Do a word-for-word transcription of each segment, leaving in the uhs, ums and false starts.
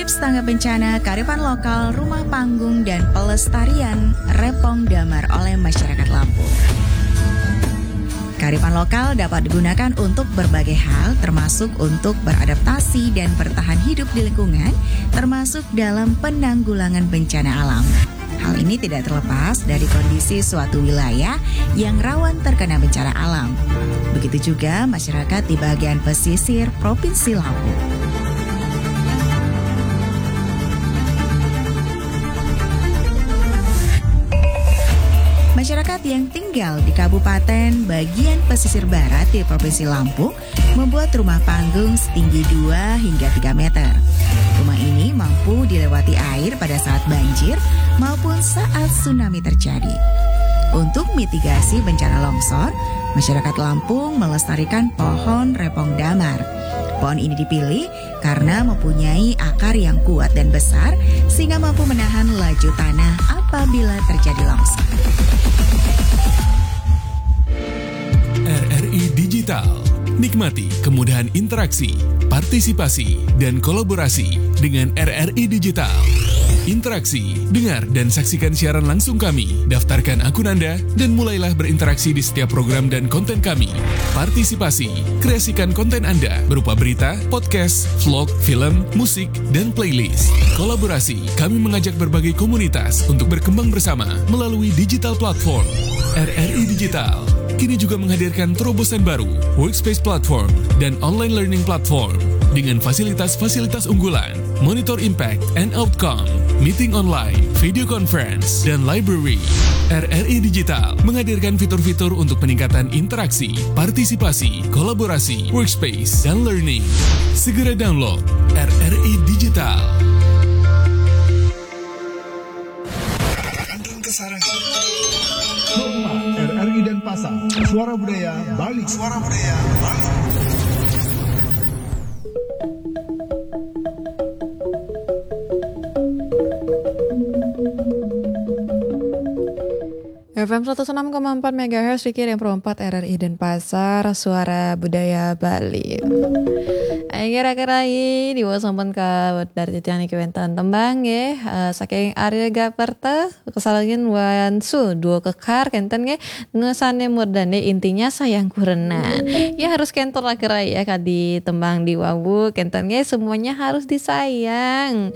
Tangga Bencana, Kearifan Lokal, Rumah Panggung, dan Pelestarian Repong Damar oleh Masyarakat Lampung. Kearifan lokal dapat digunakan untuk berbagai hal, termasuk untuk beradaptasi dan bertahan hidup di lingkungan, termasuk dalam penanggulangan bencana alam. Hal ini tidak terlepas dari kondisi suatu wilayah yang rawan terkena bencana alam. Begitu juga masyarakat di bagian pesisir Provinsi Lampung. Masyarakat yang tinggal di kabupaten bagian pesisir barat di Provinsi Lampung membuat rumah panggung setinggi dua hingga tiga meter. Rumah ini mampu dilewati air pada saat banjir maupun saat tsunami terjadi. Untuk mitigasi bencana longsor, masyarakat Lampung melestarikan pohon repong damar. Pohon ini dipilih karena mempunyai akar yang kuat dan besar, sehingga mampu menahan laju tanah apabila terjadi longsor. R R I Digital. Nikmati kemudahan interaksi, partisipasi, dan kolaborasi dengan R R I Digital. Interaksi, dengar dan saksikan siaran langsung kami. Daftarkan akun Anda dan mulailah berinteraksi di setiap program dan konten kami. Partisipasi, kreasikan konten Anda berupa berita, podcast, vlog, film, musik, dan playlist. Kolaborasi, kami mengajak berbagai komunitas untuk berkembang bersama melalui digital platform. R R I Digital kini juga menghadirkan terobosan baru, Workspace Platform dan Online Learning Platform dengan fasilitas-fasilitas unggulan, Monitor Impact and Outcome, Meeting Online, Video Conference, dan Library. R R I Digital menghadirkan fitur-fitur untuk peningkatan interaksi, partisipasi, kolaborasi, workspace, dan learning. Segera download R R I Digital. Kandung Kesarangan. Rumah R R I Denpasar. Suara Budaya Bali. Suara Budaya Bali. F M seratus enam koma empat megahertz, Riki Rempro empat R R I Denpasar, Suara Budaya Bali. Ayo kira-kira di bawah sampun ke dari titian iki wenten tembang nggih, eh, saking Ariel Gaperta, kesalengin Wansu, duo kekar kenten nggih, nusane murdane intinya sayang kurenan. Ya harus kentor lah kira ya kadi tembang di wawu kenten nggih, semuanya harus disayang.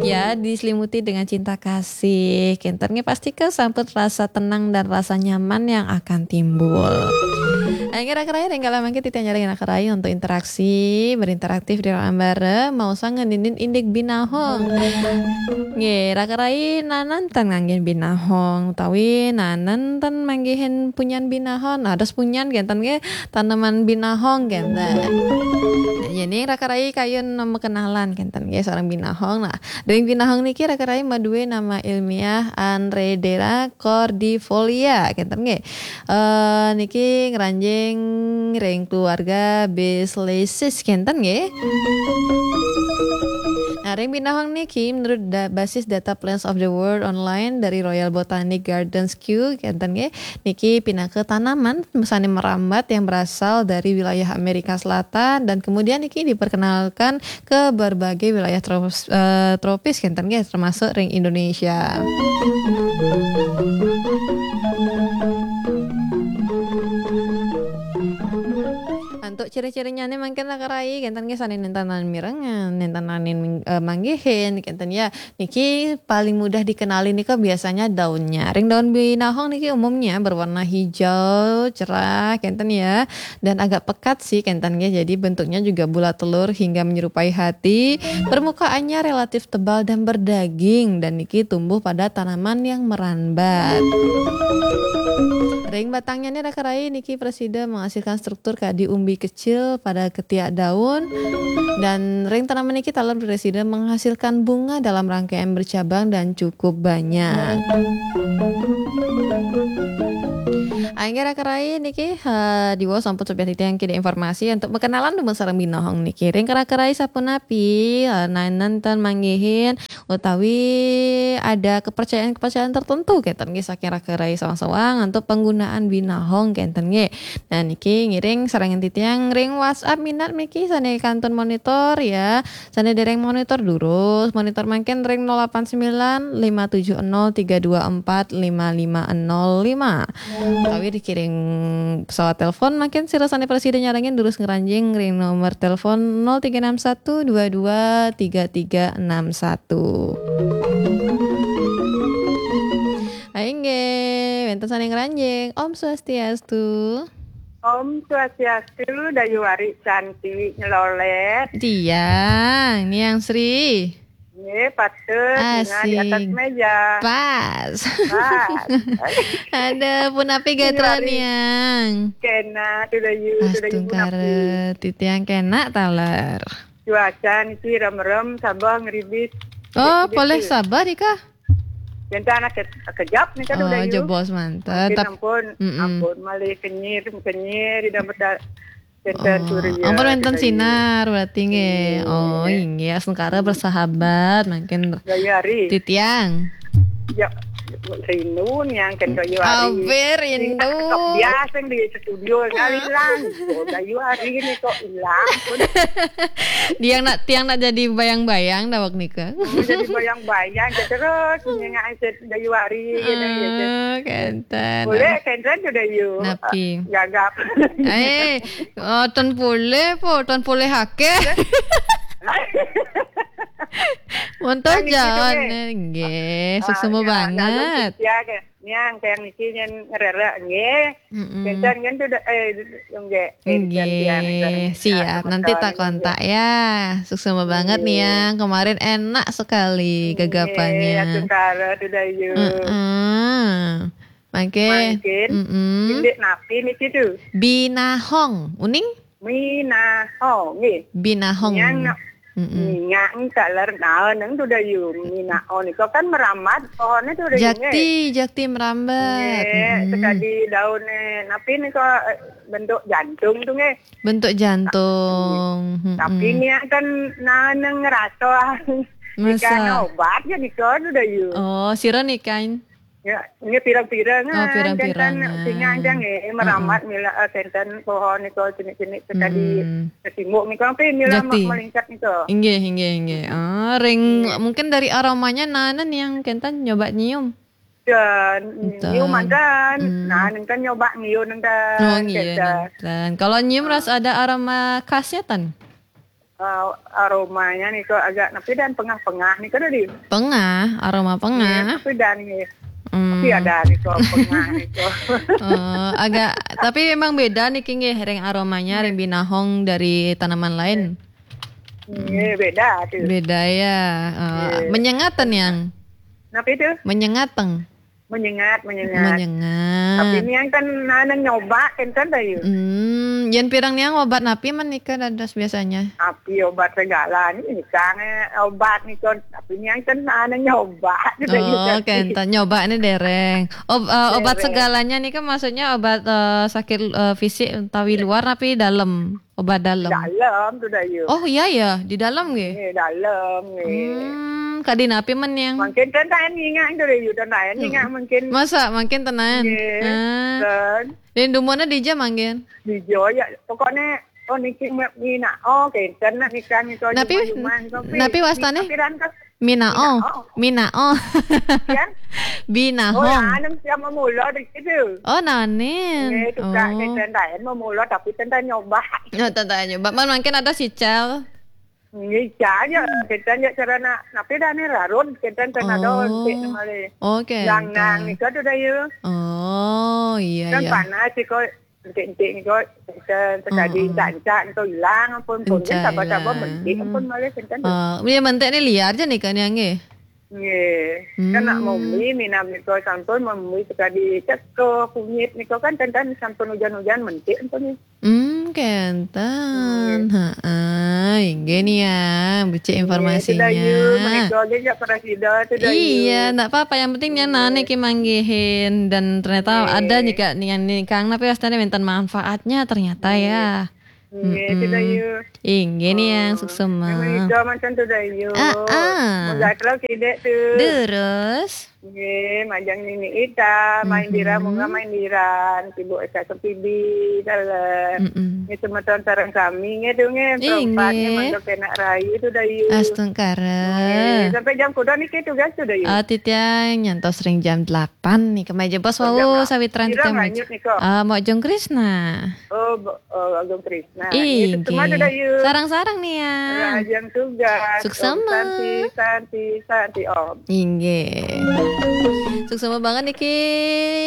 Ya diselimuti dengan cinta kasih. Kenten nggih pasti ke sampun rasa tenang dan rasa nyaman yang akan timbul. Nah, kira-kira ini kalau mungkin titian nyari kira-kira untuk interaksi, berinteraktif di ambare, mau sang ngeninin indik binahong. Nggih, kira-kira nanan ten nganggen binahong, utawi nanan ten manggihin punyan binahong, nah, terus punyan kenten nggih tanaman binahong kenten. Jadi kira-kira kayun nama kenalan kenten nggih seorang binahong. Nah, ring binahong niki kira-kira madue nama ilmiah Andredera cordifolia kenten nggih. Eh, niki ngranjing ring keluarga Bislesis kenten nggih. Nah, ring binahong niki menurut da, basis data Plants of the World online dari Royal Botanic Gardens Kew kenten nggih. Niki pinaka tanaman sane merambat yang berasal dari wilayah Amerika Selatan dan kemudian niki diperkenalkan ke berbagai wilayah tropis, eh, tropis kenten nggih termasuk ring Indonesia. Untuk ciri-cirinya nih mungkin lah kerai kenten nggih sane nentanan mirengan, nentanan eh, manggihin kenten ya. Niki paling mudah dikenali nih kok biasanya daunnya. Ring daun binahong niki umumnya berwarna hijau, cerah kenten ya. Dan agak pekat sih kenten nggih. Jadi bentuknya juga bulat telur hingga menyerupai hati. Permukaannya relatif tebal dan berdaging dan niki tumbuh pada tanaman yang merambat. Ring batangnya nih rakarai niki presida menghasilkan struktur kadi umbi kecil pada ketiak daun dan ring tanaman niki taler presida menghasilkan bunga dalam rangkaian bercabang dan cukup banyak. Inggih raka rai niki, eh, diwaos sampun sobiah titiang kida informasi antuk makenalan dumun sareng binohong niki. Ring raka rai sapunapi, eh, naenan ten manggihin utawi ada kepercayaan-kepercayaan tertentu kenten nggih saking raka rai sawang-sawang antuk panggunaan binohong kenten nggih. Nah, niki ngiring sareng titiang ring WhatsApp minat niki sane kantun monitor ya. Sane dereng monitor durus, monitor mangkin ring nol delapan sembilan lima tujuh nol tiga dua empat lima lima nol lima. Utawi dikiring pesawat telepon, mangkin sira sane prasida nyarengin durus ngranjing ring nomor telepon nol tiga enam satu dua dua tiga tiga enam satu. Inggih, wenten sane ngranjing. Om Swastiastu. Om Swastiastu, Dayu Ari cantik nyelolet. Tiang, Niang Sri. Nggih, patut, bunga di atas meja. Pas. Pas. Ada punapi gatra Niang. Kena, tu Dayu, tu Dayu punapi. Titiang kena taler. Cuaca niki rem-rem, Sabah ngeribis. Oh, polih Sabah nika? Wenten anak ke-, kejap nika tu Dayu. Jebos manten. Mungkin ampun, ampun malih kenyir, kenyir, tidak betul. Wenten surya, ampun wenten sinar berarti nggih. Oh, inggih, astungkara bersahabat, mangkin Dayu Ari. Titiang. Ya, rindu Niang kenten Dayu Ari. Abe rindu. Biasa di studio kali lang. Oh, Dayu Ari ni kok ilang pun. Tiang nak, tiang nak jadi bayang-bayang daweg nika. Oh, jadi bayang-bayang, terus punya ngajak Dayu Ari, gitu, gitu. Oh, kenten. Boleh, kenten tu Dayu. Napi? Gagap. Eh, oh, ten boleh po, ten boleh akeh. Monto jalan, nggih, suksma banget. Niang, tiang niki nyen ngererek, nggih. Kenten kan tu, eh, nggih. Nggih, siap. Nanti tak kontak ya. Suksma banget Niang. Kemarin enak sekali gagapannya. Astungkara tu Dayu. Heeh. Mangkin. Mangkin. Indik napi niki tu? Binahong. Uning? Minahong, nggih. Binahong. Niang nak Nyang taler daun nang tu Dayu, minahong nika kan merambat pohonnya tu Dayu, nggih. Jakti, jakti merambat. Nggih, sekadi daunnya, napi nika, eh, bentuk jantung tu, nggih. Bentuk jantung. Tapi nika kan nang ngerasa, nika obat ya nika tu Dayu. Oh, sira nika. Ya, ini pirang-pirang. Oh, pirang-pirang. Singang jang, eh, merambat mila, eh, kenten pohon nika cenik-cenik sekadi kesimbuk nika, tapi mila melingkat nika. Inggih, inggih, inggih. Ah, ring, mungkin dari aromanya nana nih yang kenten nyoba nyium. Dan nyium mantan. Nah, nih kan nyoba nyium nang. Oh, nyium mantan. Kalau nyium rasa ada aroma khasnya, tan? Eh, aromanya nih kok agak napi dan pengah-pengah nih kan tadi. Pengah, aroma pengah. Tapi dan nih. Tapi ada nih kok pengah nih kok. Oh, agak, tapi memang beda nih, nggih, ring aromanya, ring binahong dari tanaman lain. Iya, beda tuh. Beda ya. Eh, menyengat ten yang. Napi itu? Menyengat teng. Menyengat, menyengat. Menyengat. Tapi niang kan nana nyoba kenten Dayu. Hmm, yen pirang niang obat napi menika dados biasanya? Api obat segala ni, misalnya obat nika. Tapi niang kan nana nyoba gitu. Oh, kenten nyoba ni dereng. Ob-, eh, obat segalanya nika maksudnya obat, eh, sakit, eh, fisik utawi luar napi dalam? Obat dalam. Dalam tu Dayu. Oh, iya ya, di dalam nggih. Eh, dalam nggih. Hmm, kadi napi men yang? Mungkin ten taen ingat tu Dayu, ten taen ingat mungkin. Masa mungkin tenan? Nggih. Ah. Dan dumuna dija mangkin? Dija ya, pokoknya, oh, niki minahong, kenten nak nikah nika. Napi, napi wastane? Minahong. Minahong. Binahong. Oh, nanem siap memula di situ. Oh, nanem. Nggih, tukak kenten taen memula tapi tentang nyoba. Oh, tentang nyoba. Man, mungkin ada sicel. Nggih, aja. Kenten ya cara nak, napi dah ni rarun, kenten tentang ada sik male. Oke. Yang nang nika tu Dayu. Oh, iya, iya. Kan panas sih kok. Entik-entik nika, kenten sekadi encak-encak nika ilang ampun, pun sabar-sabar mentik ampun malih kenten. Oh, iya, mentik ni liar je nika ni, nggih. Nggih. Kan nak Hmm. mombi, minab nika sampun mombi sekadi ceko, kunyit nika kan ten-ten sampun ujan-ujan mentik ampun nggih. Hmm, kenten. Nggih. Heeh, inggih nih ya, becik Nggih, informasinya. Tudayu, menika nggih jak para sida, Tudayu. Iya, ndak apa-apa. Yang penting nya Nggih. nane ki manggihin dan ternyata Nggih. ada juga nih yang nikang, tapi wastane wenten manfaatnya ternyata Nggih. ya. Nggih, Mm-mm. Tudayu. Inggih nih yang Oh, suksema. Menika manten Tudayu. Ah, ah. Mun gatel sidik tu. Terus? Nggih, majeng Nini Ita, main dira, Mhm. munggah main diran, Ibu Eka Sempidi, dalem. Mm-mm. Nggih, semeton sareng sami, nggih, tu, nggih, Inggih. perempat, nggih, mangga kenak rayu, Tudayu. Astungkara. Nggih, sampai jam kuda niki tugas, Tudayu. Ah, titiang nyantos ring jam delapan nih, kemaja bos Oh, jam wau, delapan. Sawitran Sira titiang nganyut maja. nika. Ah, Mok Jong Krisna. Oh, bo-, oh, Agung Krisna. Nah, nggih, Inggih. Suksema, Tudayu. Sarang-sarang nih ya. Rahajeng tugas. Suksema. Om Santi, Santi, Santi Om. Inggih. Suksema banget niki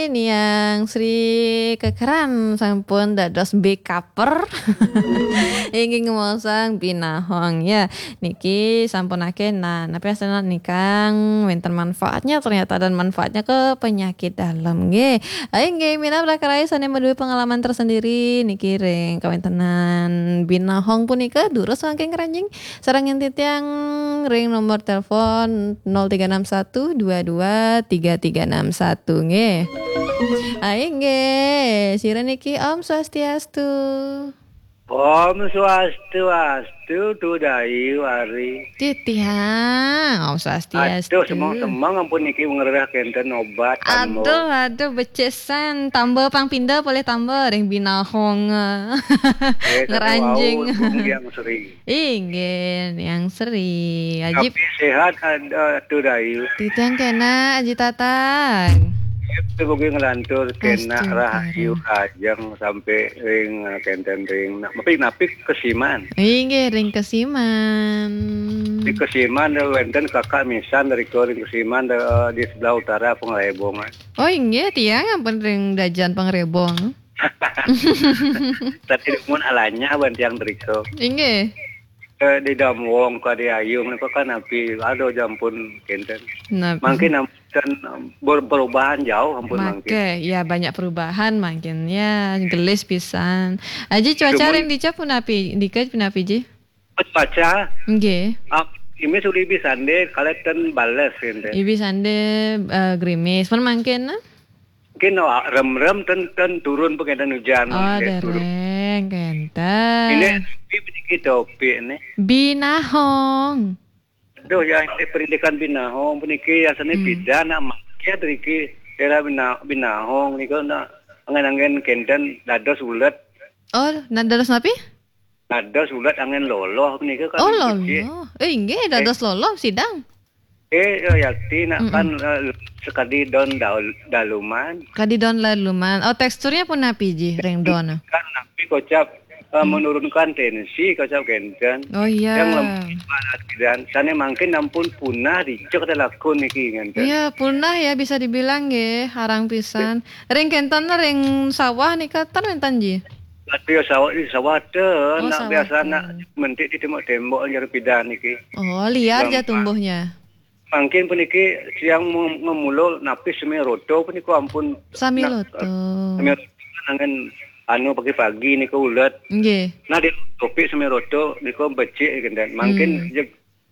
niang Sri Kekeran sampun dados bekaper. Inggih ngemaosang binahong ya. Niki sampun akeh nah, napi asana nikang wenten manfaatnya ternyata dan manfaatnya ke penyakit dalam nggih. Ayo nggih, minab raka rayi sane madue pengalaman tersendiri niki ring kawentenan binahong punika durus mangkin ngranjing sareng titiang ring nomor telepon nol tiga enam satu dua dua tiga tiga enam satu nggih. Ayo nggih, sira niki Om Swastiastu. Om Swastiastu, Tudayu Ari. Titiang, Om Swastiastu. Aduh, semeng-semeng ampun niki ngrereh kenten obat, tambah. Aduh, aduh, becesan. Tambah pang pinda boleh tambah ring binahong. Eh, kata ngranjing. Wau, Bung Yang Sri. Inggih, Yang Sri. Ajib. Tapi sehat, ada, Tudayu. Titiang kena, Aji Tatang. Itu bagi ngelantur kena Astungkara. Rahayu rajang sampai ring, eh, kenten ring. Nah, tapi napi Kesiman. Inggih, ring Kesiman. Di Kesiman, ada wenten kakak misan dari ko ring Kesiman, ada, eh, di sebelah utara Pengrebongan. Oh, inggih, tiang ampun ring dajan Pengrebong. Tadi mun alanya wan tiang driko. Inggih. Eh, di Damwong ka di Ayung niku kan napi ada jampun kenten. Napi? Mangkin ampun ber-, perubahan jauh ampun mangkin. Make, ya banyak perubahan mangkin. Ya, gelis pisan. Aji cuaca ring dicap punapi, dikej punapi ji? Cuaca? Nggih. Ah, ini sudah ibi sande, kalian bales kenten. Ibi sande, eh, grimis. Pun mangkin, nah? Mungkin, oh, rem-rem ten, ten turun pengentan hujan. Oh, nggih, turun. Dereng, kenten. Ini, ini sedikit topik nih. Binahong. Aduh, ya, ini pendidikan binahong, peniki ya, seni Hmm. Pidan, nak makia, peniki, era bina-, binahong, niku, nak, angen-angen kenten, dados ulet. Oh, nah, dados napi? Dados ulat angen loloh menika kan. Oh, becik. Loloh. Eh, inggih, eh, dados loloh sidang. Eh, ya, yakti nak Mm-mm. Kan, eh, sekadi don daul-, daluman. Kadi don daluman. Oh, teksturnya punapi ji, ring don? Kan napi kocap, eh, Hmm. menurunkan tensi, kocap kenten. Oh, iya. Yang lemah dan sane mangkin ampun punah dicek ada lakun niki kenten. Iya, punah ya bisa dibilang nggih, harang pisan. Ring kenten ring sawah nika ten wenten ji? Aduh, ya, sawah, di sawah ten, oh, nak sawah biasa ten. Nak mentik di tembok-tembok jero pidan niki. Oh, liar ja tumbuhnya. Mangkin puniki siang mu-, ngemula napis sami roto puniko ampun. Sami nak, roto. Eh, sami roto angen anu pagi-pagi niku ulet. Nggih. Nah, di topik sami roto niku becik kenten. Mangkin Hmm. Jeg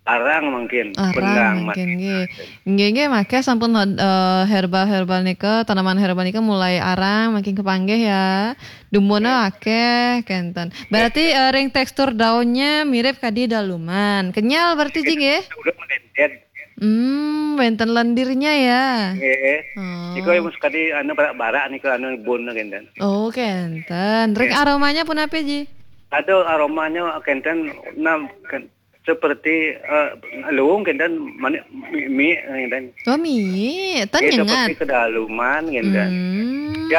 arang mangkin, arang bendang mangkin, nggih. Nggih, nggih, makeh sampun, eh, herbal-herbal nika, tanaman herbal nika mulai arang, makin kepanggih ya. Dumunnya akeh, kenten. Berarti, eh, ring tekstur daunnya mirip kadi daluman. Kenyal berarti, ji, nggih? Udah menendet. Hmm, wenten lendirnya ya. Nggih. Oh. Niku yang sekadi anu barak-barak niku anu bun kenten. Oh, kenten. Ring aromanya punapi, ji? Ada aromanya kenten, nam, ken-, seperti, eh, luung kenten manik mi, mi kenten. Oh, mi, ten nyengat. Seperti kedaluman kenten. Hmm. Ya,